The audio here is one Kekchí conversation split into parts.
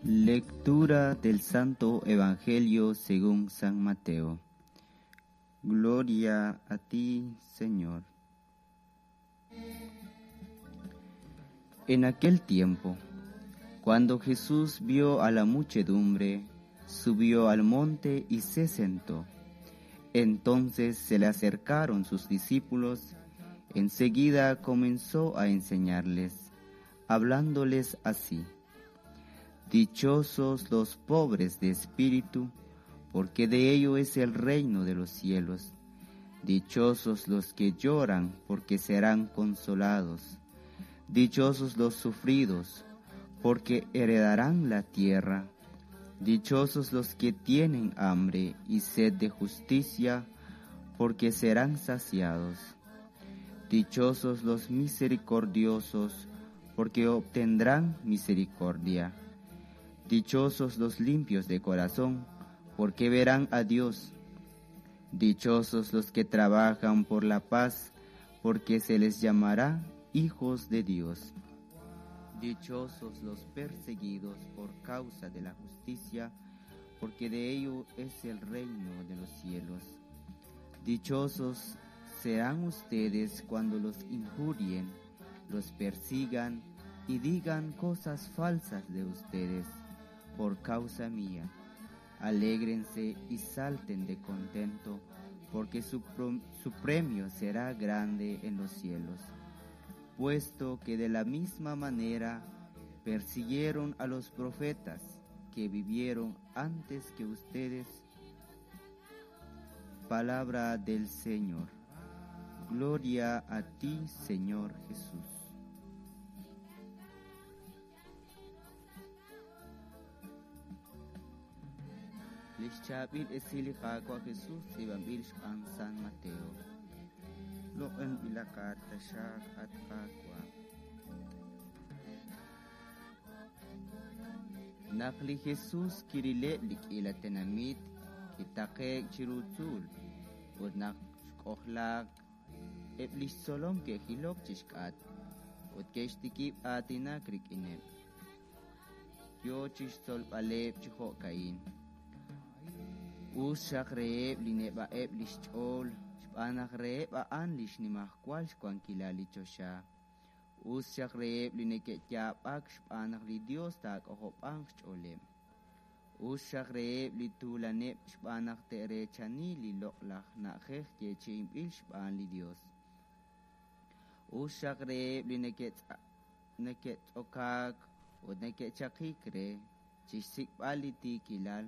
Lectura del Santo Evangelio según San Mateo. Gloria a ti, Señor. En aquel tiempo, cuando Jesús vio a la muchedumbre, subió al monte y se sentó. Entonces se le acercaron sus discípulos. Enseguida comenzó a enseñarles, hablándoles así. Dichosos los pobres de espíritu, porque de ellos es el reino de los cielos. Dichosos los que lloran, porque serán consolados. Dichosos los sufridos, porque heredarán la tierra. Dichosos los que tienen hambre y sed de justicia, porque serán saciados. Dichosos los misericordiosos, porque obtendrán misericordia. Dichosos los limpios de corazón, porque verán a Dios. Dichosos los que trabajan por la paz, porque se les llamará hijos de Dios. Dichosos los perseguidos por causa de la justicia, porque de ellos es el reino de los cielos. Dichosos serán ustedes cuando los injurien, los persigan y digan cosas falsas de ustedes por causa mía. Alégrense y salten de contento, porque su, su premio será grande en los cielos, puesto que de la misma manera persiguieron a los profetas que vivieron antes que ustedes. Palabra del Señor. Gloria a ti, Señor Jesús. Lix chaab'il esil li Qaawa' Jesus tz'iib'anb'il xb'aan San Mateo. Loq'anb'ilaqat taxaq, at Qaawa'. Naq li Jesus kirileb' li k'iila tenamit, kitaqe'k chiru tzuul, ut naq xk'ojlaak, eb' li xtzolom ke'jilok chi xk'atq ut ke'xtikib' aatinak rik'ineb'. Yo chi xtzolb'aleb' chi jo'ka'in: Us xaq reheb' li neb'a'eb' li xch'ool, xb'aan naq reheb' a'an li xnimajwal xwankilal li choxa. Us xaq reheb' li neke'yaab'ak xb'aan naq li Yos taak'ojob'anq xch'ooleb'. Us xaq reheb' li tuulaneb' xb'aan naq te'reechani li loq'laj na'ajej yeechi'inb'il xb'aan li Yos. Us xaq reheb' li neke'tz'okaak ut neke'chaqik re chi xsik'b'al li tiikilal,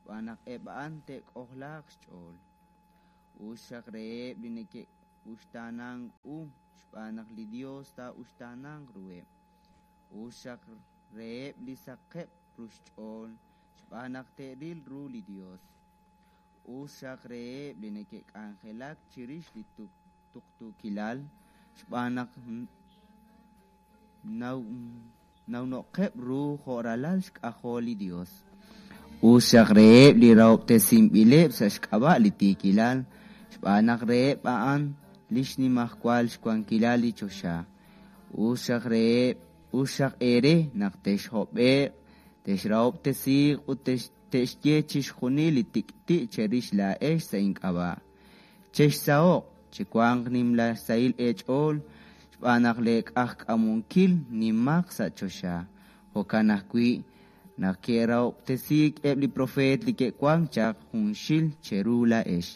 xb'aan naq eb' a'an te'k'ojlaaq xch'ool. Us xaq reheb' li neke'uxtaanank u, xb'aan naq li Yos taa'uxtaananq ruheb'. Us xaq reheb' li saqeb' ru xch'ool, xb'aan naq te'ril ru li Yos. Us xaq reheb' li neke'k'anjelak chirix li tuqtuukilal, xb'aan naq nawno'qeb' ru jo' ralal xk'ajol li Yos. Us xaq reheb' li rahob'tesinb'ileb' sa' xk'ab'a' li tiikilal, xb'aan naq reheb' a'an li xnimajwal xwankilal li choxa. Us xaq reheb', us xaq eere naq texhob'e'q, texrahob'tesiiq ut te'xye chixjunil li tik'ti' cherix laa'ex sa' ink'ab'a'. Chexsaho'q, chiwanq nimla sahil eech'ool, xb'aan naq leek'ajk'amunkil nimaq sa' choxa. Jo'kan ajwi' naq ke'rahob'tesiik eb' li propeet li ke'wank chaq junxil cheru laa'ex.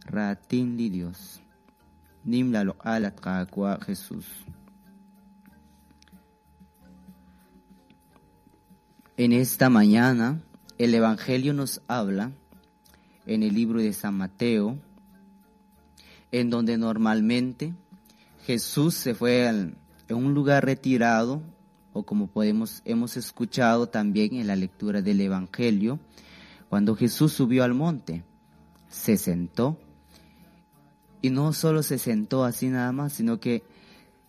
Raatin li Yos. Nim loq'al at Qaawa' Jesús. En esta mañana el Evangelio nos habla en el libro de San Mateo, en donde normalmente Jesús se fue a un lugar retirado, o como podemos, hemos escuchado también en la lectura del Evangelio, cuando Jesús subió al monte, se sentó, y no solo se sentó así nada más, sino que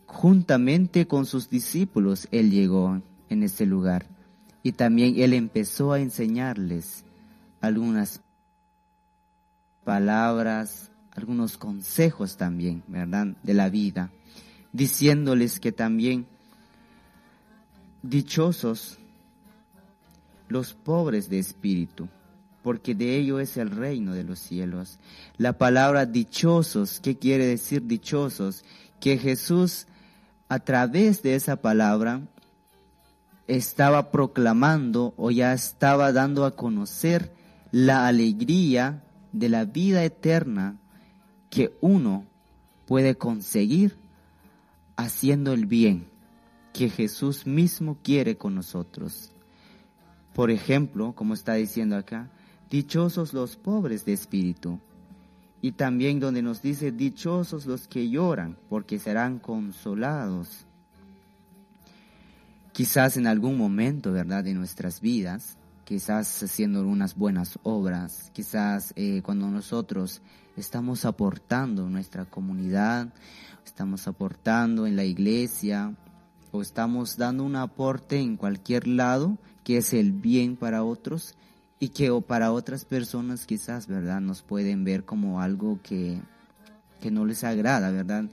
juntamente con sus discípulos él llegó en ese lugar. Y también él empezó a enseñarles algunas palabras, algunos consejos también, ¿verdad? De la vida, diciéndoles que también dichosos los pobres de espíritu, porque de ello es el reino de los cielos. La palabra dichosos, ¿qué quiere decir dichosos? Que Jesús, a través de esa palabra, estaba proclamando o ya estaba dando a conocer la alegría de la vida eterna que uno puede conseguir haciendo el bien que Jesús mismo quiere con nosotros. Por ejemplo, como está diciendo acá, dichosos los pobres de espíritu. Y también donde nos dice, dichosos los que lloran, porque serán consolados. Quizás en algún momento, ¿verdad?, de nuestras vidas, quizás haciendo unas buenas obras, quizás cuando nosotros estamos aportando en nuestra comunidad, estamos aportando en la iglesia, o estamos dando un aporte en cualquier lado que es el bien para otros y que o para otras personas quizás, ¿verdad?, nos pueden ver como algo que no les agrada, ¿verdad?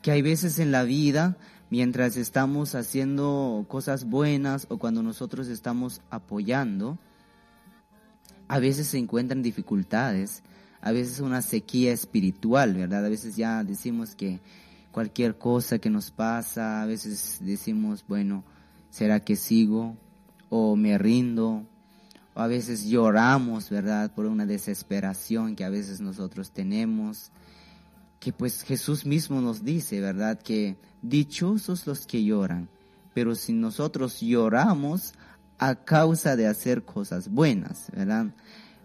Que hay veces en la vida, mientras estamos haciendo cosas buenas o cuando nosotros estamos apoyando, a veces se encuentran dificultades, a veces una sequía espiritual, ¿verdad? A veces ya decimos que cualquier cosa que nos pasa, a veces decimos, bueno, ¿será que sigo? O me rindo, o a veces lloramos, ¿verdad?, por una desesperación que a veces nosotros tenemos, que pues Jesús mismo nos dice, ¿verdad?, que dichosos los que lloran, pero si nosotros lloramos a causa de hacer cosas buenas, ¿verdad?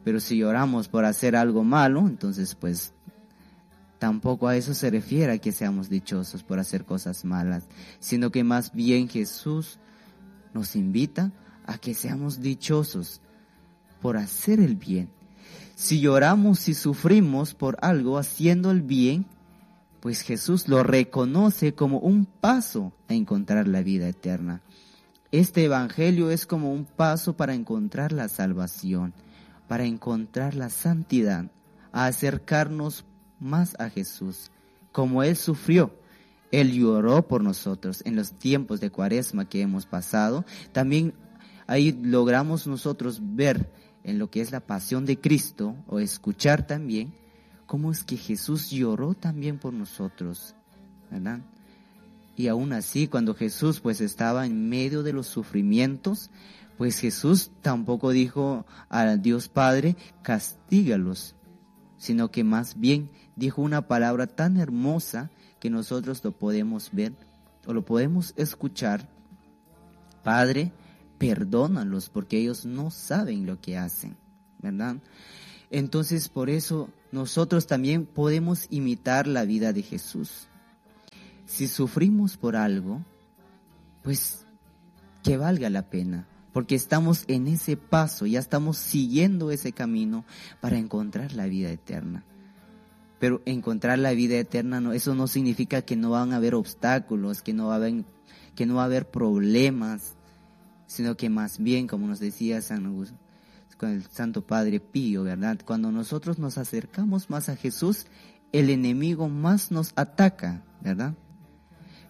Pero si lloramos por hacer algo malo, entonces pues tampoco a eso se refiere a que seamos dichosos por hacer cosas malas, sino que más bien Jesús nos invita a que seamos dichosos por hacer el bien. Si lloramos y sufrimos por algo haciendo el bien, pues Jesús lo reconoce como un paso a encontrar la vida eterna. Este evangelio es como un paso para encontrar la salvación, para encontrar la santidad, a acercarnos más a Jesús, como Él sufrió. Él lloró por nosotros en los tiempos de Cuaresma que hemos pasado. También ahí logramos nosotros ver en lo que es la pasión de Cristo, o escuchar también cómo es que Jesús lloró también por nosotros, ¿verdad? Y aún así, cuando Jesús pues estaba en medio de los sufrimientos, pues Jesús tampoco dijo a Dios Padre, castígalos, sino que más bien dijo una palabra tan hermosa que nosotros lo podemos ver o lo podemos escuchar. Padre, perdónalos porque ellos no saben lo que hacen, ¿verdad? Entonces, por eso nosotros también podemos imitar la vida de Jesús. Si sufrimos por algo, pues que valga la pena, porque estamos en ese paso, ya estamos siguiendo ese camino para encontrar la vida eterna. Pero encontrar la vida eterna, no, eso no significa que no van a haber obstáculos, que no va a haber problemas, sino que más bien, como nos decía San Augusto, con el Santo Padre Pío, ¿verdad? Cuando nosotros nos acercamos más a Jesús, el enemigo más nos ataca, ¿verdad?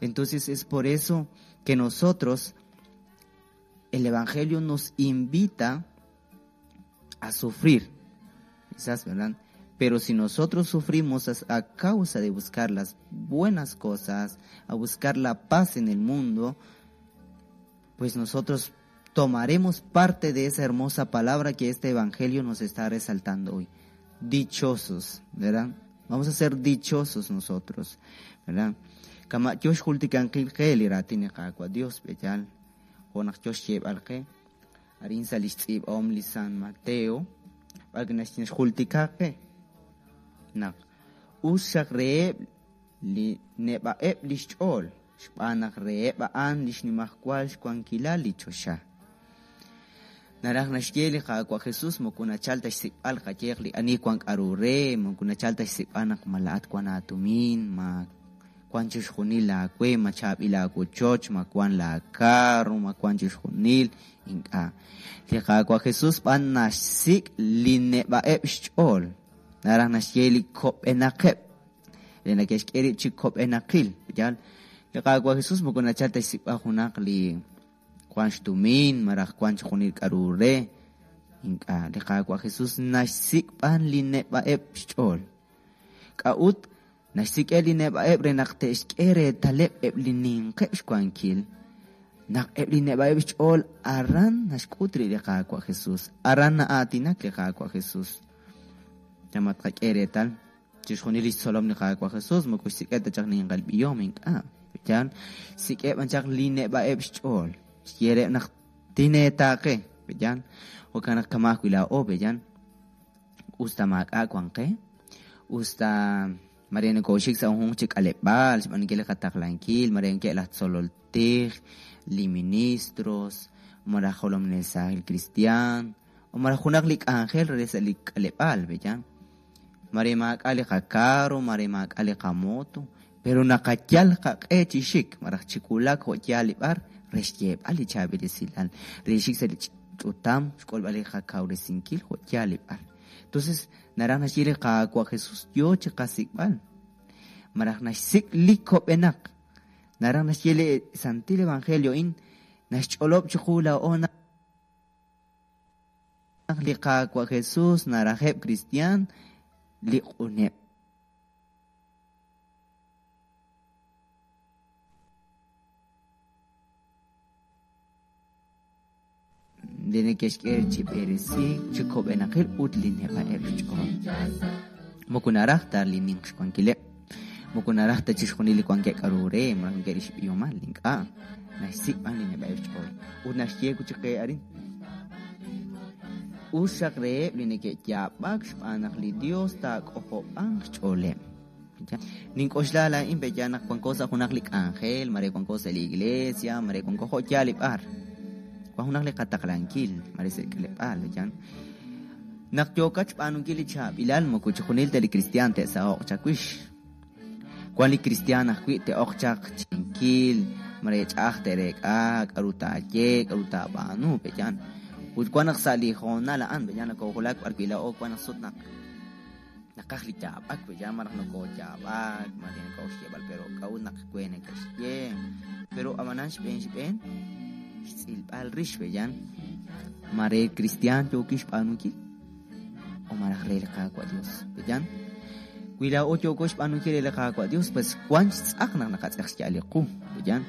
Entonces es por eso que nosotros, el Evangelio nos invita a sufrir, quizás, ¿verdad? Pero si nosotros sufrimos a causa de buscar las buenas cosas, a buscar la paz en el mundo, pues nosotros tomaremos parte de esa hermosa palabra que este Evangelio nos está resaltando hoy. Dichosos, ¿verdad? Vamos a ser dichosos nosotros, ¿verdad? Kama Dios Dios beyal, arin sa om li San Mateo, naq us xaq reheb' li neb'a'eb' li xch'ool, xb'aan naq reheb' a'an li xnimajwal xwankilal li choxa. Naraj naxye li Qaawa' Jesús moko nachal ta xsik'b'al qayeq li ani wan k'aru re, moko nachal ta xsik'b'al naq mala'at wan aatumin, ma wan chixjunil laawe, ma chaab'il aawochoch, ma wan laakarro, ma wan chixjunil, ink'a'. Li Qaawa' Jesús b'an naxsik' li neb'a'eb' xch'ool. Naraj naxye li kob'enaqeb', li nake'xk'e rib' chi kob'enaqil, yal. Li Qaawa' Jesús moko nachal ta xsik'b'al junaq li Wank xtumin malaj wank chixjunil k'aru re. Ink'a', li Qaawa' Jesus naxsik' b'an li neb'a'eb' xch'ool. K'a'ut naxsik'eb' li neb'a'eb' re naq te'xk'e reetaleb' eb' li ninqeb' xwankil? Naq eb' li neb'a'eb' xch'ool aran naxk'ut rib' li Qaawa' Jesus, aran na'aatinak li Qaawa' Jesus. Ma tqak'e reetal chixjunil li xtzolom li Qaawa' Jesus moko xsik'eb' ta chaq ninqal b'ihom, ink'a'. Yaal, xsik'eb' b'an chaq li neb'a'eb' xch'ool. Xye reheb' naq tineetaaqe, yaal. Jo'kan naq kama' ajwi' laa'o, yaal. Us ta maak'a' wank qe, us ta mare nokooxik sa' junjunq chi k'aleb'aal xb'aanunkil li qataqlankil, mare wankeb' laj tzolol tij, li ministros, malaj jolominel saajil kristiaan, o malaj junaq li k'anjel re sa' li k'aleb'aal, yaal. Mare maak'a' li qakarro, mare maak'a' li qamoto, pero naqayal qaq'e chi xik, malaj chi wulak jo' yaal li b'ar re xyeeb'al li chaab'il esilal, re xik sa' li ch'utam, xk'ulb'al li qakawresinkil jo' yaal li b'ar. Entonces, naraj naxye li Qaawa' Jesus yoo chi qasik'b'al, malaj naxsik' li kob'enaq. Naraj naxye li Santil Evangelio a'in naxch'olob' chiqu laa'o naq li Qaawa' Jesus narajeb' kristiaan li q'uneb'. Li neke'xk'e chi b'eresiik chi kob'enaqil ut li neb'a'eb' xch'ool. Moko naraj ta li ninq xwankileb', moko naraj ta chixjunil li wankeb' k'aru re, malaj wankeb' li xb'ihomal, ink'a'. Naxsik' b'an li neb'a'eb' xch'ool. Ut naxye wi' chik qe arin. Us xaq reheb' li neke'yaab'ak xb'aan naq li Dios taak'ojob'anq xch'ooleb'. Nink'oxla laa'in pe'yaal naq wanko sa' junaq li k'anjel, mare wanko sa' li iglesia, mare wanko jo' yaal li b'ar. Wan junaq li qataqlankil, mare sa' li k'aleb'aal, pe'yaal. Naq yookat xb'aanunkil li chaab'ilal, moko chixjunil ta li kristiaan te'saho'q chawix. Wan li kristiaan ajwi' te'oq chaq chinkil, mare ch'a'aj te'reek'a, k'aru taaye, k'aru taab'aanu, pe'yaal. Ut wan naq sa' li hoonal a'an, pe'yaal nakoohulak b'ar wi' laa'o wan naq sut naq naqaj li yaab'ak, pe'yaal malaj nokooyaab'ak, mare nokooxyeeb'al, pero k'a'ut naq we neke'xye. Pero ab'anan xb'een xb'een xtz'ilb'al rix, pe'yaal. Mare kristiaan yookin xb'aanunkil o malaj re li Qaawa' Dios, pe'yaal. Wi laa'o yooko xb'aanunkil re li Qaawa' Dios, pues wan xtz'aq naq naqatz'eq xya'al li qu, pe'yaal.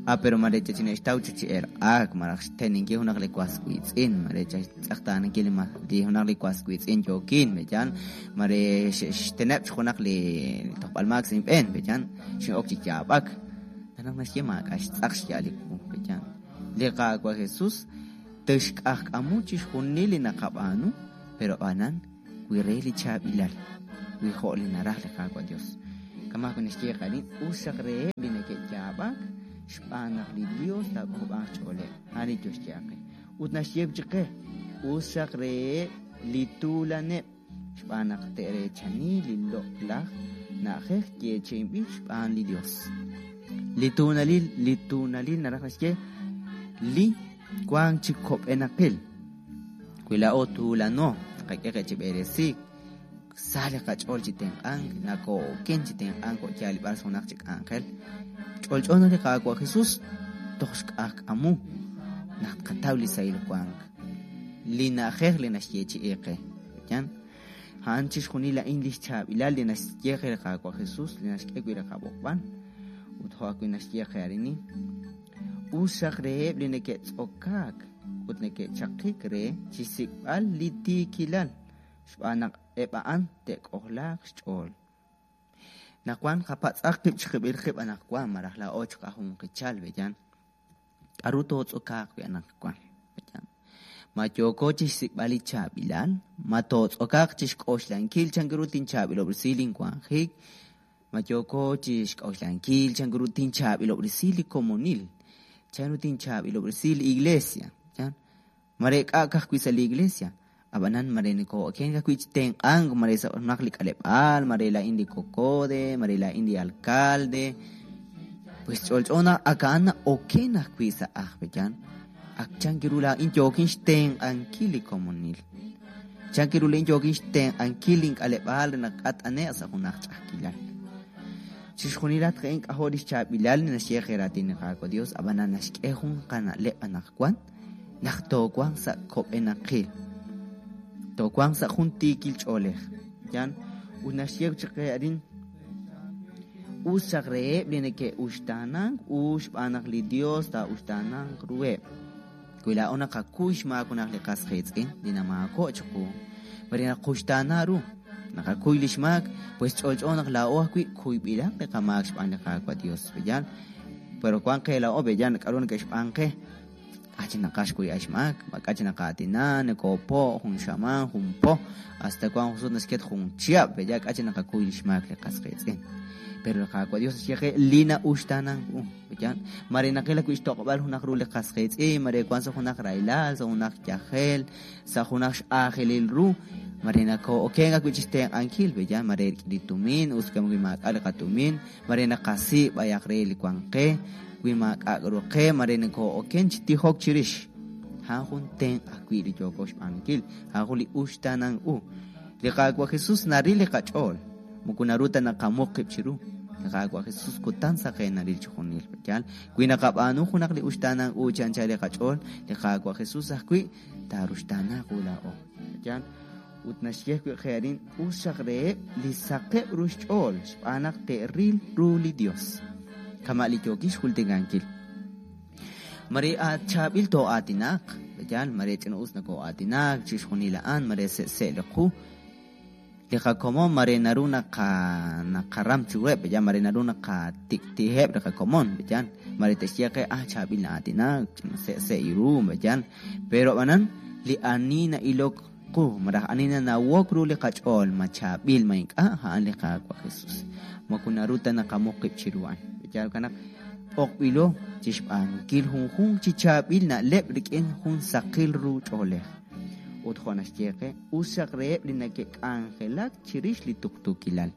Ah, pero mare chachine'xtaw chi chi elq'aak, malaj xteninkil junaq li was wiitz'in, mare xtz'eqtaanankil li junaq li was wiitz'in yookin, pe'yaal. Mare xteneb' chi junaq li tojb'al maak sa' inb'een, pe'yaal. Xin'ok chi yaab'ak. Naq naxye maak'a' xtz'aq xya'al li qu, pe'yaal. Li Qaawa' Jesus tixk'ajk'amu chixjunil li naqab'aanu, pero ab'anan wi re li chaab'ilal, wi jo' li naraj li Qaawa' Dios. Kama' ajwi' naxye qarin, us xaq reheb' li neke'yaab'ak xb'aan naq li Dios taak'ojob'anq xch'ooleb'. A'an li Dios xye qe. Ut naxye chi qe, us xaq reheb' li tuulaneb' xb'aan naq te'reechani li loq'laj na'ajej yeechi'inb'il xb'aan li Dios. Li tuunalil, li tuunalil naraj naxye li wank chi kob'enaqil. Wi laa'o tuulano, naqak'e qe chi b'eresiik, sa li qach'ool chi tenq'ank, nakoo'oken chi tenq'ank jo' yaal li b'ar junaq chi k'anjel. Ch'olch'o naq li Qaawa' Jesus toj xk'ajk'amu naq tqataw li sahil wank. Li na'ajej li naxyeechi'i qe. Yan. A'an chixjunil a'in li xchaab'ilal li naxye qe li Qaawa' Jesus, li naxk'e wi' li qab'oqb'al. Ut jo' ajwi' naxye qe arini. Us xaq reheb' li neke'tz'okaak ut neke'chaqik re chixsik'b'al li tiikilal, xb'aan naq eb' a'an te'k'ojlaaq xch'ool. Naq wan qapatz'aq qib' chiqib'il qib' anaqwan, malaj laa'o chiqajunqichal, pe'yaal. K'aru tootz'okaaq wi' anaqwan, pe'yaal. Ma yooko chixsik'b'al li chaab'ilal, ma tootz'okaaq chixk'oxlankil chan ru tinchaab'ilob'resi linwanjik, ma yooko chixk'oxlankil chan ru tinchaab'ilob'resi li komonil, chan ru tinchaab'ilob'resi li iglesia, yaal. Mare k'a' ka'ajwi' sa' li iglesia, ab'anan mare nakoo'oken ka'ajwi' chi tenq'ank, mare sa' junaq li k'aleb'aal, mare laa'in li kokode, mare laa'in li alcalde. Pues ch'olch'o naq ak a'an na'oken ajwi' sa' aj, pe'yaal. Ak chan ru laa'in yookin xtenq'ankil li komonil. Chan ru laa'in yookin xtenq'ankil link'aleb'aal re naq k'at'ane'q sa' junaq ch'a'ajkilal. Chixjunilat a'in k'ajo' li xchaab'ilal li naxye qe raatin li Qaawa' Dios, ab'anan naxk'e jun qana'leb' anaqwan naq toowanq sa' kob'enaqil, toowanq sa' jun tiikil ch'oolej. Yan ut naxye chaq qe arin us chaq reheb' li neke'uxtaanank u xb'aan naq li Dios taa'uxtaananq ruheb'. Wi laa'o naqakuy xmaak junaq li qas qiitz'in li namaako' chiqu, mare naquxtaana ru, naqakuy li xmaak, pues ch'olch'o naq laa'o ajwi' kuyb'ilaq li qamaak xb'aan li Qaawa' Dios. B'eyal, pero wank qe laa'o b'eyal k'aru neke'xb'aan qe. K'a' chi naqaj xkuyb'al xmaak, k'a' chi naqaatina, nokoopo' jun xamaan, jun po, hasta wank jun sut naxket jun chihab', b'eyal k'a' chi naqakuy li xmaak li qas qiitz'in. Pero li Qaawa' Dios naxye qe li na'uxtaanank u. B'eyal, mare naqil ajwi' xtoq'ob'al junaq ru li qas qiitz'in, mare wank sa' junaq rahilal, sa' junaq yajel, sa' junaq x'aajelil ru, mare nakoo'okenk ajwi' chixtenq'ankil, b'eyal, mare rik'in li tumin, us kam wi maak'a' li qatumin, mare naqasi' b'ayaq re li wank qe, wi maak'a' k'aru qe, mare nakoo'oken chi tijok chirix. A'an jun tenq' ajwi' li yooko xb'aanunkil, a'an jun li uxtaanank u. Li Qaawa' Jesus naril li qach'ool, moko naru ta naqamuq qib' chiru. Li Qaawa' Jesus kutan saqen naril chixjunil. Yaal, wi naqab'aanu junaq li uxtaanank u chi anchal li qach'ool, li Qaawa' Jesus ajwi' taaruxtaana qu laa'o. Yaal, ut naxye ajwi' qe arin us xaq reheb' li saqeb' ru xch'ool xb'aan naq te'ril ru li Dios. Kama' li yookin xjultikankil. Mare chaab'il too'aatinaq, yaal, mare ch'ina-us nakoo'aatinak, chixjunil a'an, mare se'se' li qu. Li qakomon mare naru naqaram chiruheb', yaal, mare naru naqatik'ti'iheb' li qakomon, yaal, mare te'xye qe, ah, chaab'il na'aatinak, ch'ina se'se' ru, yaal. Pero ab'anan, li ani na'ilok qu, malaj ani nanawok ru li qach'ool, ma chaab'il, ma ink'a', a'an li Qaawa' Jesus. Moko naru ta naqamuq qib' chiru a'an. Yaal naq b'oqb'ilo chixb'aanunkil junjunq chi chaab'il na'leb' rik'in jun saqil ru ch'oolej. Ut jo' naxye qe, us xaq reheb' li neke'k'anjelak chirix li tuqtuukilal.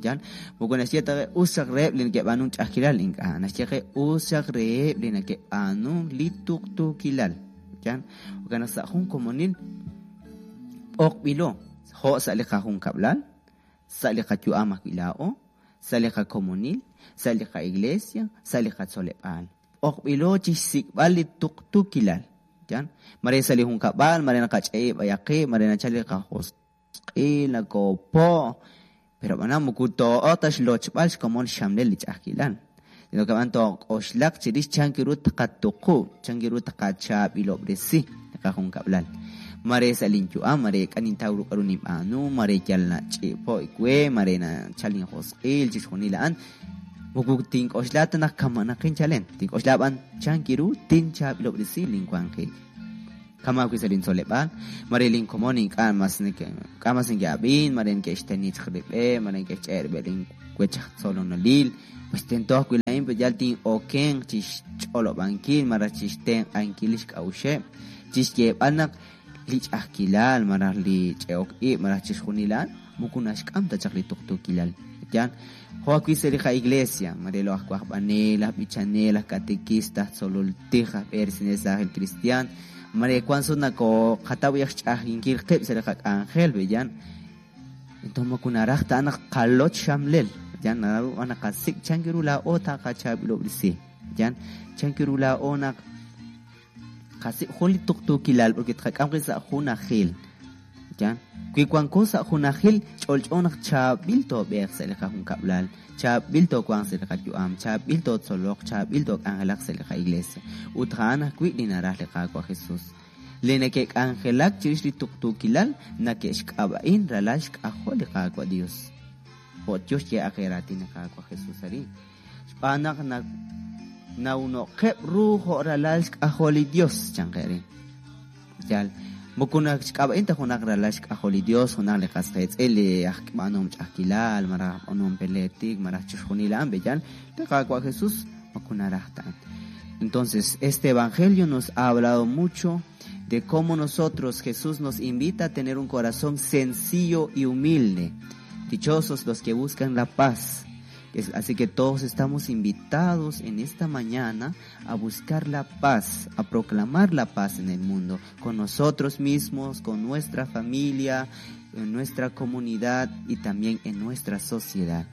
Yaal, moko naxye ta qe us xaq reheb' li neke'b'aanunk ch'a'ajkilal, ink'a'. Naxye qe us xaq reheb' li neke'b'aanunk li tuqtuukilal. Yaal, jo'kan naq sa' jun komonil b'oqb'ilo, jo' sa' li qajunkab'lal, sa' li qayu'am ajwi' laa'o, sa' li qakomonil, sa' li qa'iglesia, sa' li qatzoleb'aal. B'oqb'ilo chixsik'b'al li tuqtuukilal. Yaal, mare sa' li junkab'al, mare naqach'e'ib' b'ayaq qib', mare nachal li qajosq'il, nakoopo', pero ab'anan moko too'ok ta xlochb'al xkomon xxamlel li ch'a'ajkilal. Sino que ab'an took'oxlaq chirix chan ru tqatuqub', chan ru tqachaab'ilob'resi li qajunkab'lal. Mare sa' linyu'am, mare k'a nintaw ru k'aru ninb'aanu, mare yal nach'i'po' we, mare nachal injosq'il, chixjunil a'an. Moko tink'oxla ta naq kamanaqin chalen, tink'oxla b'an chan ru tinchaab'ilob'resi linwanjik. Kama ajwi' sa' lintzoleb'aal, mare linkomon ink'a' mas ink'a' mas neke'ab'in, mare neke'xteni chaq rib'eb', mare neke'xch'e' rib'eb' linwech aj tzolonolil. Pues tento ajwi' laa'in yal tin'okenq chixch'olob'ankil malaj chixtenq'ankil li xk'a'uxeb', chixyeeb'al naq li ch'a'ajkilal malaj li ch'e'ok ib' malaj chixjunil a'an moko naxk'am ta chaq li tuqtuukilal. Yaal, jo' ajwi' sa' li qa'iglesia, mare lo aj wajb'anel, aj b'ichanel, aj katekista, aj tzolol tij, aj b'eresinel saajil cristian, mare wank sut nakooqataw aj xch'a'ajkinkil qib' sa' li qak'anjel, b'eyan. Entonces moko naraj ta naq qaloch xamlel, yan naru naqasik' chan ru laa'o taqachaab'ilob'resi, yan chan ru laa'o naq qasik' jun li tuqtuukilal porque tqak'am qib' sa' junajil. Yan, wi wanko sa' junajil ch'olch'o naq chaab'il toob'eeq sa' li qajunkab'lal, chaab'il toowanq sa' li qayu'am, chaab'il tootzoloq, chaab'il took'anjelaq sa' li qa'iglesia. Ut a'an ajwi' li naraj li Qaawa' Jesus. Li neke'k'anjelak chirix li tuqtuukilal neke'xk'ab'a'in ralal xk'ajol li Qaawa' Dios. Jo' yo xye aq raatin li Qaawa' Jesus arin. Xb'aan naq nawnoqeb' ru jo' ralal xk'ajol li Dios, chan qe arin. Yaal, moko xk'ab'a'in ta junaq ralal xk'ajol li Dios, junaq li qas qiitz'in li aj b'aanuhom ch'a'ajkilal, malaj b'aanuhom peletik, malaj chixjunil a'an, b'eyal, li Qaawa' Jesus moko naraj ta a'an. Entonces, este evangelio nos ha hablado mucho de cómo nosotros, Jesús nos invita a tener un corazón sencillo y humilde. Dichosos los que buscan la paz. Así que todos estamos invitados en esta mañana a buscar la paz, a proclamar la paz en el mundo, con nosotros mismos, con nuestra familia, en nuestra comunidad y también en nuestra sociedad.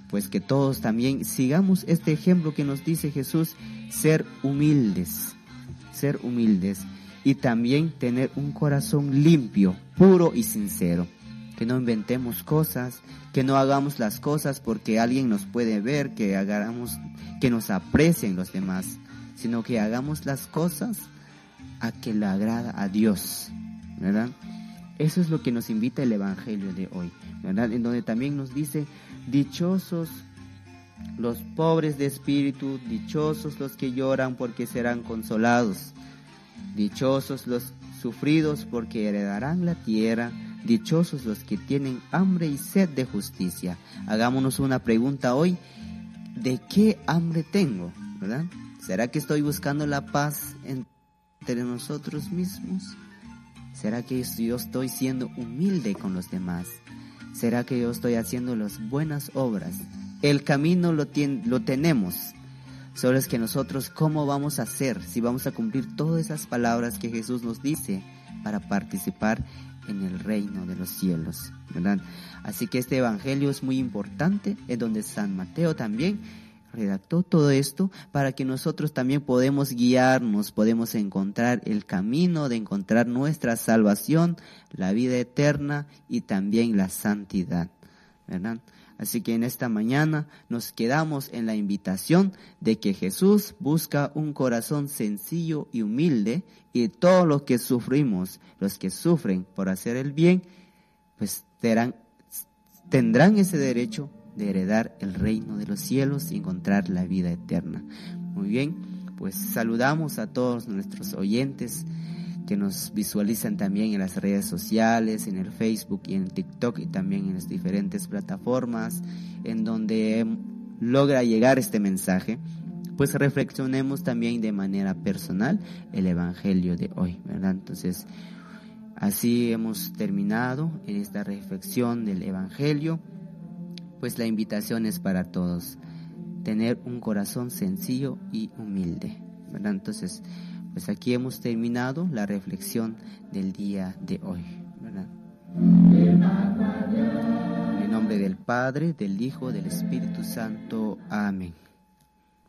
Pues que todos también sigamos este ejemplo que nos dice Jesús, ser humildes y también tener un corazón limpio, puro y sincero. Que no inventemos cosas, que no hagamos las cosas porque alguien nos puede ver, que hagamos, que nos aprecien los demás, sino que hagamos las cosas a que le agrada a Dios, ¿verdad? Eso es lo que nos invita el Evangelio de hoy, ¿verdad? En donde también nos dice, dichosos los pobres de espíritu, dichosos los que lloran porque serán consolados, dichosos los sufridos porque heredarán la tierra, dichosos los que tienen hambre y sed de justicia. Hagámonos una pregunta hoy, ¿de qué hambre tengo? ¿Verdad? ¿Será que estoy buscando la paz entre nosotros mismos? ¿Será que yo estoy siendo humilde con los demás? ¿Será que yo estoy haciendo las buenas obras? El camino lo tenemos. Solo es que nosotros, ¿cómo vamos a hacer si vamos a cumplir todas esas palabras que Jesús nos dice para participar en el reino de los cielos? ¿Verdad? Así que este evangelio es muy importante, en donde San Mateo también redactó todo esto para que nosotros también podemos guiarnos, podemos encontrar el camino de encontrar nuestra salvación, la vida eterna y también la santidad, ¿verdad? Así que en esta mañana nos quedamos en la invitación de que Jesús busca un corazón sencillo y humilde, y todos los que sufrimos, los que sufren por hacer el bien, pues tendrán ese derecho de heredar el reino de los cielos y encontrar la vida eterna. Muy bien, pues saludamos a todos nuestros oyentes que nos visualizan también en las redes sociales, en el Facebook y en TikTok, y también en las diferentes plataformas en donde logra llegar este mensaje. Pues reflexionemos también de manera personal el evangelio de hoy, ¿verdad? Entonces, así hemos terminado en esta reflexión del evangelio. Pues la invitación es para todos, tener un corazón sencillo y humilde, ¿verdad? Entonces, pues aquí hemos terminado la reflexión del día de hoy, ¿verdad? En el nombre del Padre, del Hijo, del Espíritu Santo. Amén.